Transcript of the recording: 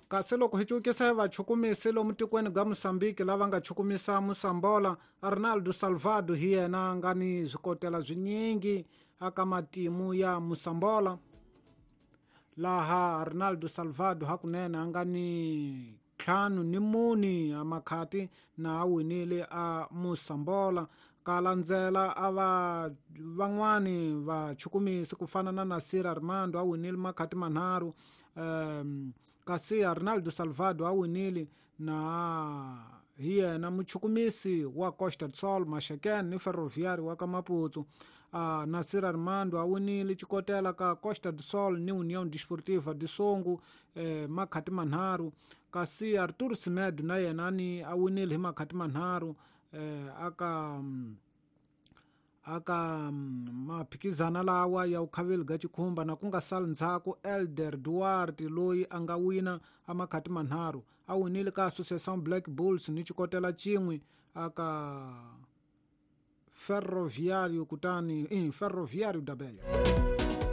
Kasi loko hi cukisa hi vachukumisi lomu tikweni ga Mosambiki lava nga chukumisa Mosambola, Arnaldo Salvado hi yena a nga ni swikotela swinyingi aka matimu ya Mosambola. Laha Arnaldo Salvado hakunene a nga ni 54 a makhati na a winile a Mosambola. Ka landzela a va van'wani vachukumisi ku fana na Nasir Armando a winile makhati manharhu, kasi Arnaldo Salvado a winile na hi yena muchukumisi wa Costa do Sol, Maxaquene ni Ferroviário wa ka Maputo. Nasir Armando a winile xikotela ka Costa do Sol ni União Desportiva de Songo, makhati manharhu, kasi Arthur Semedo na yena ni a winile hi makhati manharhu, aka maphikizana lawa ya ukhaveli ga chikhumba. Na ku nga sali ndzhaku Elder Duarte loyi a nga wina a makhati manharhu, a winile ka Associação Black Bulls ni xikotela xin'we aka Ferroviário, kutani Ferroviário da Beira.